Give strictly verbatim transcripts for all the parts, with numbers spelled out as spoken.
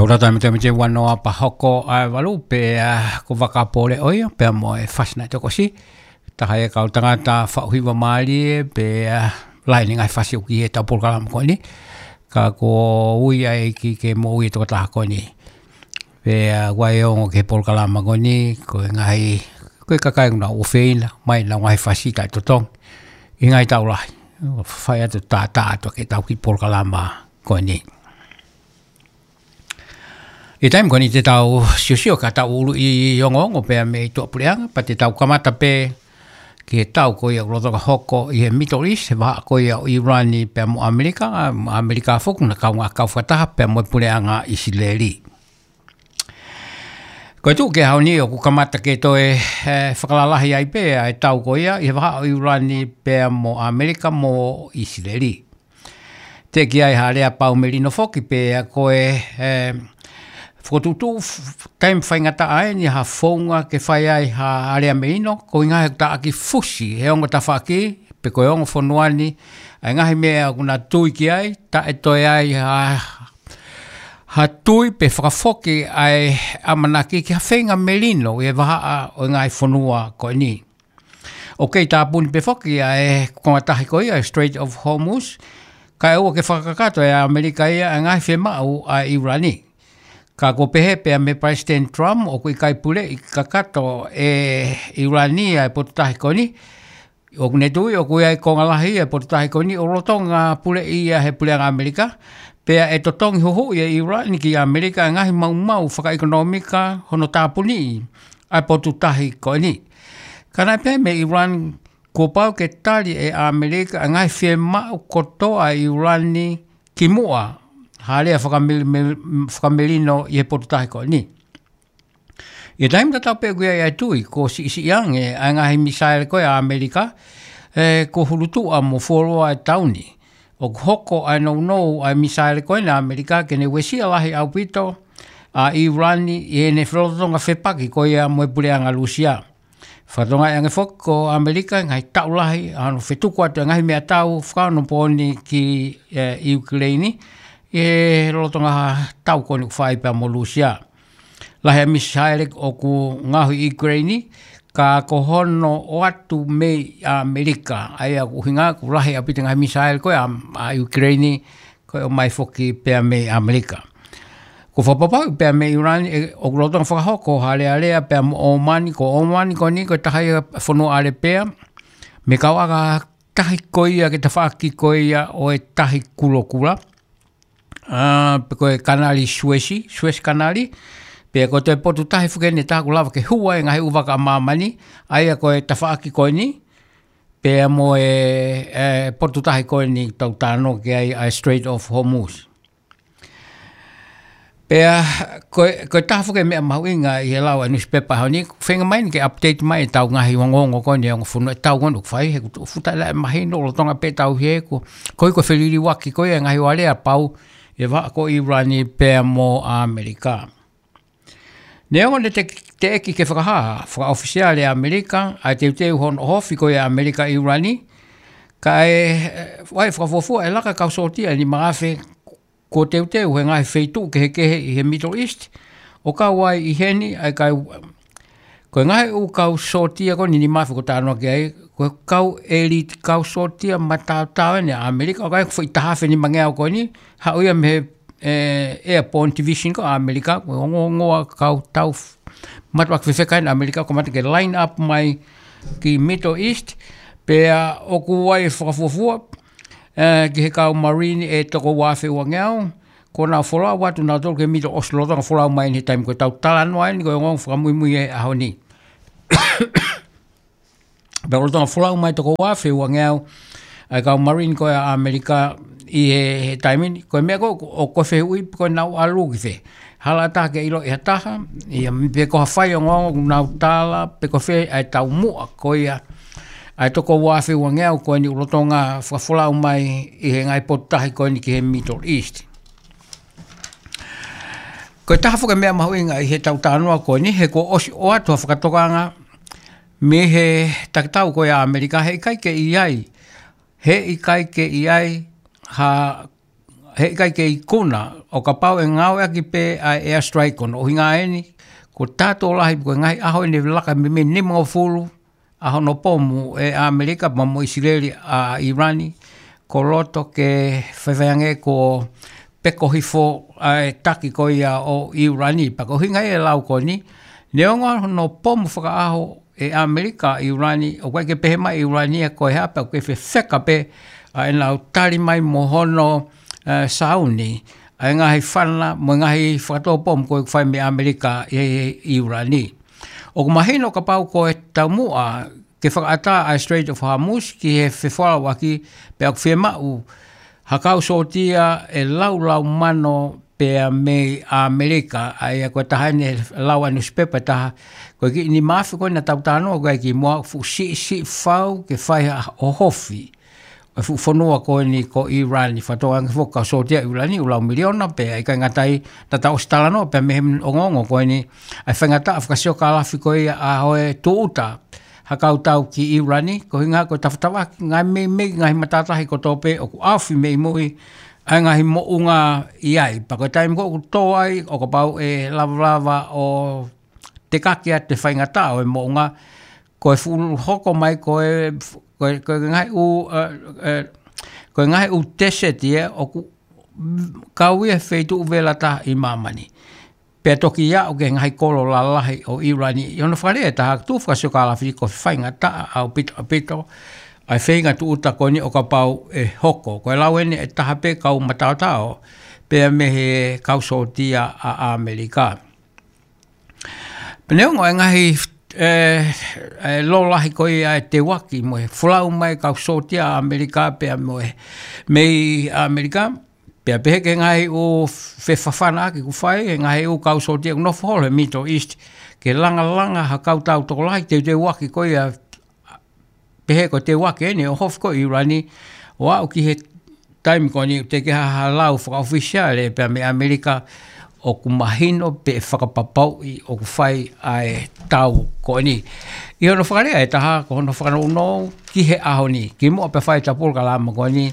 Ko e tau tāmita mita ua noa pea hoko ʻa e valu pea ko Vaka Pole ʻo ia, pea mo e fasi naʻe tokosi. Taha e kau tangata faʻu hiva mālie, pea lahi ʻene ngaahi fasi ʻoku ʻi he tau polokalama ko eni. Ka ko e ui ʻa e ʻEiki ke moʻui e tokotaha ko eni. Pea ʻoku ʻi ai e ongo ki he polokalama ko eni, ko e ngaahi, ko e kakai ʻoku nau ʻofeina mai ʻenau ngaahi fasi taʻetotongi ʻi he ngaahi taʻu lahi. Fai atu tātā atu ke tau kiʻi polokalama ko eni. ʻI he taimi ko eni te tau siosio ka tau ʻuluʻi ongoongo pea mei tuʻapuleʻanga, pea te tau kamata pē ki he tau ko ia ʻoku lolotonga hoko ʻi he Middle East, he vahaʻa ko ia ʻo ʻIulani pea mo ʻAmelika, ʻa ʻAmelika foki ʻoku na kaungā kau fakataha pea mo e puleʻanga ʻIsileli. Ko e tuʻu ki he ʻaho ni ʻoku kamata ke toe, eh, fakalalahi ai pē ʻa e tau ko ia ʻi he vahaʻa ʻo ʻIulani pea mo ʻAmelika mo ʻIsileli. Teʻeki ai ha lea pau melino foki pea ko e, eh, fokotuʻutuʻu f-, taimi faingataʻa eni ha founga ke fai ai ha lea melino, ko e ʻuhinga he taʻaki fusi he ongo tafaʻaki, pe ko e ongo fonua ni, ʻa e ngaahi meʻa ʻoku na tui ki ai, taʻetoe ai ha, ha tui pe fakafoki ʻa e ʻamanaki ki ha feinga melino ʻi he vahaʻa ʻo e ngaahi fonua ko eni. ʻOku kei tāpuni pē foki ʻa e konga tahi ko ia, Strait of Hormuz, kae ʻoua ke fakakakato ʻe ʻAmelika ia ʻa e ngaahi fiemaʻu ʻa ʻIulani. Ka ʻoku pehē pea mei Palesiteni Trump, ʻoku ʻikai puleʻi kakato ʻe ʻIulani ʻa e potu tahi ko eni, ʻoku ne tui ʻoku ʻi ai e konga lahi ʻa e potu tahi ko eni ʻoku lolotonga puleʻi ia he puleʻanga ʻAmelika, pea ʻe totongi huhuʻi ʻe ʻIulani ki ʻAmelika ʻa e ngaahi maumau fakaʻekonōmika hono tāpuniʻi ʻa e potu tahi ko eni. Ka naʻe pehē mei ʻIulani kuo pau ke tali ʻe ʻAmelika ʻa e ngaahi fiemaʻu kotoa ʻa ʻIulani kimuʻa ha lea fakamel-, mel-, fakamelino ʻi he potu tahi ko eni. ʻI he taimi tatau pē ʻoku ʻi ai ʻa e tui kuo siʻisiʻi ange ʻa e ngaahi misaele ko ia ʻa ʻAmelika, eh, kuo hulutuʻa mo fuoloa e taʻu ni. ʻOku hoko ʻa e nounou ʻa e misaele ko eni ʻa ʻAmelika ke ne uesia lahi ʻaupito ʻa ʻIulani ʻi heʻene felolotonga fepaki ko ia mo e puleʻanga Lūsia. Fakatokangaʻi ange foki ko ʻAmelika ngaahi taʻu lahi ʻa hono fetuku atu e ngaahi meʻatau fakaonopooni ki, eh, ʻIukuleini, ʻi he lolotonga tau ko eni ʻoku fai pea mo Lūsia. Lahi ʻa e misaele ʻoku ngaohi ʻi ʻIukuleini, ka ko hono ʻoatu mei ʻAmelika, ʻa ia ʻoku ʻuhinga ʻoku lahi ʻaupito e ngaahi misaele ko ia ʻa, ʻa ʻIukuleini, ko e ʻomai foki pea mei ʻAmelika. Ko e fakapapauʻi pea mei ʻIulani, ʻe, ʻoku lolotonga fakahoko ha alealea pea mo ʻOmani, ko ʻOmani ko eni ko e taha ia e fonua ʻAlepea mei he kau ʻaka tahi ko ia ki he tafaʻaki ko ia ʻo e Tahi Kulokula, ʻa, pe ko e Kanali Suesi, Suesi Kanali, pea ko e toe potu tahi foki eni ʻe taha ʻoku lava ke hū ai e ngaahi ʻū vaka ʻa māmani, ʻa ia ko e tafaʻaki ko eni, pea mo e, e potu tahi ko eni ʻoku tau talanoa ki ai, ʻa e Strait of Hormuz. Pea ko e, ko e taha foki e meʻa mahuʻinga ʻi he lau ʻa e nusipepa he ʻaho ni, feinga mai eni ke update mai ʻetau ngaahi ongoongo ko eni, ongo fonua, ʻetau ongo fai, he ʻoku fuʻu taʻe mahino lolotonga pē ʻetau hē, ko, ko e, ko e feliliuaki ko ia e ngaahi aleapau ʻi he vahaʻa ko ʻIulani pea mo ʻAmelika. Neongo naʻe te-, teʻeki ke fakahā fakaʻofisiale ʻe ʻAmelika ʻa e teuteu hono ʻohofi ko ia ʻa ʻAmelika ʻi ʻIulani, ka ʻe, e, ʻoku ʻi ai e fakafuofua ʻe laka e kau sōtia ʻe nima afe kuo teuteu he ngaahi feituʻu kehekehe ʻi he Middle East, ʻo kau ai ʻi heni ʻa e kau, ko e ngaahi ʻū kau sōtia ko eni ʻe nima afe ʻoku talanoa ki ai, ko e kau elite kau sōtia mataotao eni ʻa ʻAmelika, ʻoku ʻi ai e foʻi taha afe nimangeau ko eni, haʻu ia mei he, e, Airborne Division ko ʻAmelika, ko e ongoongoa kau tau f-, mātuʻaki fefeka eni ʻa ʻAmelika, ʻoku kamata ke line up mai ki Middle East, pea ʻoku ʻi ai e fakafuofua, e, ki he kau Marine ʻe toko ua afe uangeau, kuo nau folau atu nautolu ki he Middle East, lolotonga folau mai eni he taimi ko ē ʻoku tau talanoa eni, ko e ongoongo fakamuimui he ʻaho ni. Pea lolotonga folau mai toko ua afe uangeau ʻa e kau Marine ko ia ʻa ʻAmelika ʻi he, he taimi ni, ko e meʻa ko ē, ʻoku, ʻoku fehuʻi pe ko ʻenau ʻalu ki fē. Hala ʻatā ke ʻiloʻi ʻe ha taha, ia pe ko ha faiongoongo ʻoku nau tala, pe ko fē ʻa e taumuʻa ko ia ʻa e toko ua afe uangeau ko eni ʻoku lolotonga fakafolau mai ʻi he ngaahi potu tahi ko eni ki he Middle East. Ko e taha foki e meʻa mahuʻinga ʻi heʻetau talanoa ko eni, he kuo ʻosi ʻoatu ha fakatokanga mei he takitau ko ia ʻa ʻAmelika, he ʻikai ke ʻi ai, he ʻikai ke ʻi ai ha he ʻikai ke ikuna, ʻo kapau ʻe ngāueʻaki pē ʻa e airstrike ko hono ʻuhinga eni, ko e taha tokolahi ko e ngaahi ʻaho eni laka mei he nimangofulu ʻa hono pomu ʻe ʻAmelika pea mo ʻIsileli ʻa ʻIulani, ko loto ke faifai ange ko peko hifo ʻa e taki ko ia ʻo ʻIulani. Pea ko e ʻuhinga ia e lau ko eni, neongo hono pomu fakaʻaho ʻe ʻAmelika ʻa ʻIulani, ʻoku ʻikai ke pehē mai ʻIulani ia ko e hā pea ʻoku kei fefeka pē ʻa ʻenau tali mai mo hono, eh, sauni ʻa e ngaahi fana mo e ngaahi fakatō pomu ko ē ʻoku fai mei ʻAmelika ʻi, ʻi ʻIulani. ʻOku mahino kapau ko e taumuʻa ke fakaʻatā ʻa e Strait of Hormuz ki he fefolauʻaki, pea ʻoku fiemaʻu ha kau sōtia ʻe laulau mano pea mei ʻAmelika, ʻa ia ko e taha eni lau ʻa e nusipepa ʻe taha, ko e kiʻi nima afe ko ē naʻa tau talanoa ko ē ki muʻa, fuʻu siʻisiʻi fau ke fai ha ʻohofi ʻo e fuʻu fonua ko eni ko ʻIulani, fakatokangaʻi foki kau sōtia ʻIulani ʻoku lau miliona, pea ʻikai ngata ai, naʻa tau ʻosi talanoa pea mei he ongoongo ko eni ʻa e faingataʻa fakasiokālafi ko ia ʻa e tūʻuta ha kau tau ki ʻIulani, ko e ʻuhinga ko e tafatafaki ngaahi meimei ngaahi matātahi kotoa pē ʻoku ʻaofi mei mui ʻa e ngaahi moʻunga ʻi ai. Pea ko e taimi ko ē ʻoku tō ai, ʻo kapau ʻe lavalava ʻo tekaki atu e faingataʻa ʻo e moʻunga, ko e fuʻu hoko mai ko e, ko e, ko e ngaahi ʻū, eh, eh, ko e ngaahi ʻū desert ia ʻoku kau ia he feituʻu vela taha ʻi māmani. Pea toki aʻu ki he ngaahi kolo lalahi ʻo ʻIulani. ʻI hono fakalea ʻe taha, tuʻu fakasiokālafi ko e faingataʻa ʻaupito, ʻaupito ʻa e feinga tūʻuta ko eni ʻo kapau ʻe hoko. Ko e lau eni ʻe taha pē kau mataotao pea mei he kau sōtia ʻa ʻAmelika. Pea neongo e ngaahi, eh, eh, lōlahi ko ia ʻa e teuaki mo e folau mai kau sōtia ʻa ʻAmelika pea mo e mei ʻAmelika, pea pehē ki he ngaahi ʻū fefafanaʻaki ʻoku fai ʻe he ngaahi ʻū kau sōtia ʻoku nofo holo he Middle East, ke langalanga ha kau tau tokolahi teuteuaki ko ia, pehē ko e teuaki eni ʻohofi ko ē ʻIulani, ʻo aʻu ki he taimi ko eni ʻoku teʻeki ha lau fakaʻofisiale pea mei ʻAmelika ʻoku mahino pe fakapapauʻi ʻoku fai ʻa e tau ko eni. ʻI hono fakalea ʻe taha, ko hono fakanounou ki he ʻaho ni, kimuʻa pea fai ʻetau polokalama ko eni,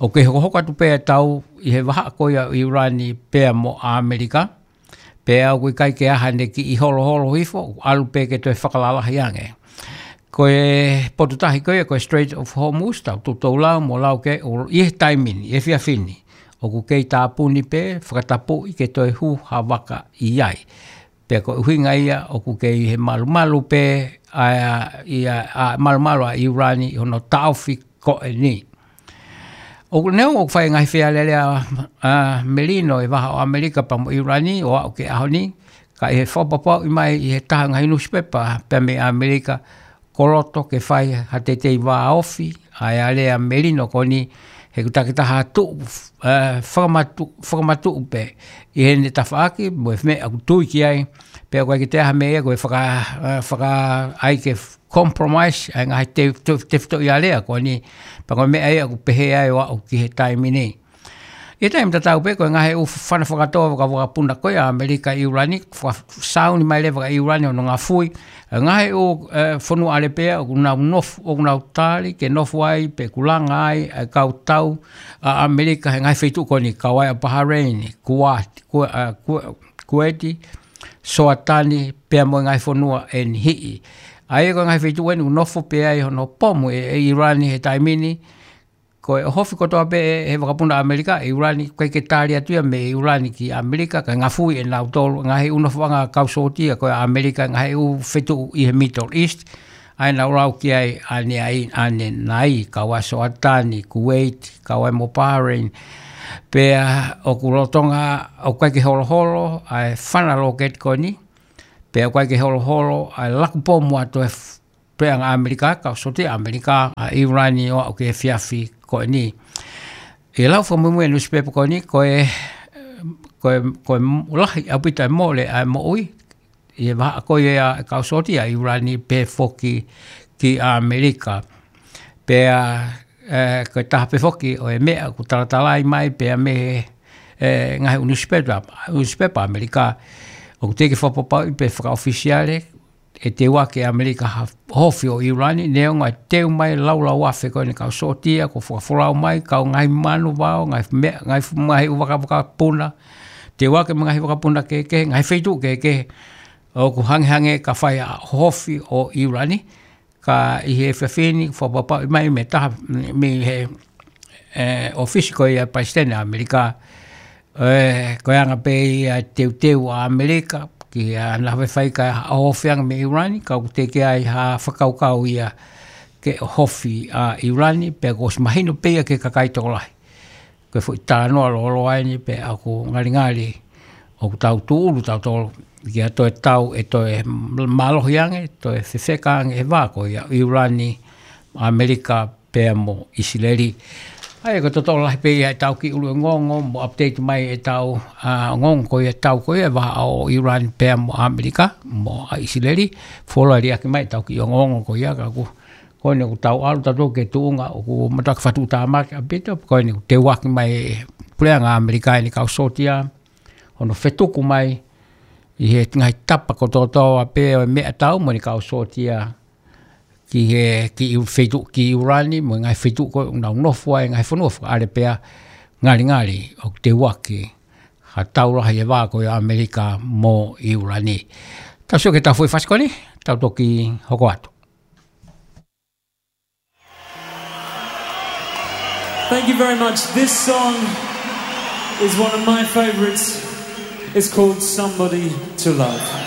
ʻoku kei hokohoko atu pē ʻetau tau ʻi he vahaʻa ko ia ʻo ʻIulani pea mo ʻAmelika, pea ʻoku ʻikai ke ʻi ai haʻane kiʻi holoholo hifo, ʻalu pē ke toe fakalalahi ange. Ko e potu tahi ko ia, ko e Strait of Hormuz, tau toutou lau mo lau ki ai, ʻo ʻi he taimi ni, ʻi he efiafi ni, ʻoku kei tāpuni pē, fakatapui ke toe hū ha vaka ʻi ai. Pea ko e ʻuhinga ia ʻoku kei ʻi he malumalu pē, ʻa, ʻi ai, ʻa, malumalu ʻa ʻIulani ʻi hono taʻofi ko eni. ʻOku, neongo ʻoku fai ngaahi fealēlea, ʻa, melino ʻi he vahaʻa ʻo ʻAmelika pea mo ʻIulani ʻo aʻu ki he ʻaho ni, ka ʻi he fakapapauʻi mai ʻe he taha ngaahi nusipepa pea mei ʻAmelika, ko loto ke fai ha teitei vāofi ʻa e alea melino ko eni, he ʻoku takitaha tuʻu, ʻa, fakamatu-, fakamatuʻu pē ʻi heʻene tafaʻaki mo e meʻa ʻoku tui ki ai, pea ʻoku ʻikai ke toe ʻi ai ha meʻa ia ko e faka-, ʻa, faka-, ʻai ke compromise ʻa e ngaahi te-, te-, tefitoʻi alea ko eni, pea ko e meʻa ia ʻoku pehē ai ʻo aʻu ki he taimi ni. ʻI he taimi tatau pē ko e ngaahi ʻū fana fakatō vakavakapuna ko ia ʻa ʻAmelika ʻi ʻIulani, fa-, sauni mai leva ʻa ʻIulani ʻo ngafui ʻa e ngaahi ʻū, ʻe, fonua ʻAlepea ʻoku nau nofo, ʻoku nau tali ke nofo ai pe kulanga ai ʻa e kau tau ʻa ʻAmelika he ngaahi feituʻu ko eni, kau ai ʻa Bahrain, Kuwait, Ku-, ʻa, Ku-, Kuwait, Soatani, pea mo e ngaahi fonua ʻe niʻihi. ʻA ia ko e ngaahi feituʻu eni ʻoku nofo pē ai hono pomu ʻe, ʻe ʻIulani he taimi ni, ko e ʻohofi kotoa pē ʻe he vakapuna ʻAmelika ʻi ʻIulani, ʻoku ʻikai ke tali atu ia mei ʻIulani ki ʻAmelika, kae ngafui ʻe nautolu, ngaahi ʻū nofoʻanga kau sōtia ko ia ʻa ʻAmelika, ngaahi ʻū feituʻu ʻi he Middle East, ʻa ia naʻa ku lau ki ai ʻanenai, ʻanenai, kau ai Soatani, Kuwait, kau ai mo Bahrain, pea ʻoku lolotonga, ʻoku ʻikai ke holoholo ʻa e fana lōketi ko eni, pea ʻoku ʻikai ke holoholo ʻa e laku pomu atu ʻa e f-, puleʻanga ʻAmelika, kau sōtia ʻAmelika, ʻa ʻIulani ʻo aʻu ki he efiafi ko eni. ʻI he lau fakamuimui ʻa e nusipepa ko eni, ko e, ko e, ko e lahi ʻaupito e mole ʻa e moʻui ʻi he vahaʻa ko ia ʻa e kau sōtia ʻa ʻIulani pea foki ki ʻAmelika. Pea, ʻe, ko e taha pē foki ʻo e meʻa ʻoku talatalai mai pea mei he, ʻe, ngaahi ʻū nusipepa, nusipepa ʻAmelika, ʻoku teʻeki fakapapauʻi pe fakaʻofisiale ʻe teuaki ʻe ʻAmelika ha ʻohofi ʻo ʻIulani, neongo ʻa e teu mai laulau afe ko eni kau sōtia, ko e fakafolau mai, kau ngaahi manu vao, ngaahi meʻa, ngaahi fu-, ngaahi ʻū vakavaka puna, teuaki mo e ngaahi vakapuna kehekehe, ngaahi feituʻu kehekehe, ʻoku hangehangē ka fai ʻa e ʻohofi ʻo ʻIulani, ka ʻi he efiafi ni, fakapapauʻi mai mei he taha, mei he, ʻe, ʻōfisi ko ia ʻa e Palesiteni ʻa ʻAmelika, ʻe, ko e anga pē ia ʻa e teuteu ʻa ʻAmelika, ki he ʻaho naʻe fai ki ai ʻa e ʻohofi ange mei ʻIulani, ka ʻoku teʻeki ai ha fakakaukau ia ke ʻohofi ʻa ʻIulani, pea kuo ʻosi mahino pē ia ki he kakai tokolahi. Ko e foʻi talanoa lōloa eni pea ʻoku ngalingali ʻoku tau tūʻulu tautolu ki ha toe tau ʻe toe mālohi ange, toe fefeka ange ʻa e vā ko ia ʻo ʻIulani, ʻAmelika pea mo ʻIsileli. ʻA ia ko e totolo lahi pē ia ʻetau kiʻi ʻuluʻi ongoongo mo update mai ʻetau, ʻa, ongoongo ko ia ʻetau ko ia ʻa e vā ʻo ʻIulani pea mo ʻAmelika mo ʻIsileli. Fuoloa liʻaki mai ʻetau kiʻi ongoongo ko ia ka ʻoku, ko eni ʻoku tau ʻalu tautolu ki he tuʻunga ʻoku mātuʻaki fakatuʻutāmaki ʻaupito, ko eni ʻoku teuaki mai ʻe he puleʻanga ʻAmelika ʻa eni kau sōtia, hono fetuku mai ʻi he ngaahi tapa kotoa pē ʻo e meʻatau mo eni kau sōtia ki he, ki ʻIu-, feituʻu ki ʻIulani, mo e ngaahi feituʻu ko ē ʻoku nau nofo ai, ngaahi fonua fakaʻalepea, ngalingali ʻoku teuaki ha tau lahi ʻa e vā ko ia ʻo ʻAmelika mo ʻIulani. Tau sio ki heʻetau foʻi fasi ko eni, tau toki hoko atu. Thank you very much. This song is one of my favorites. It's called Somebody to Love.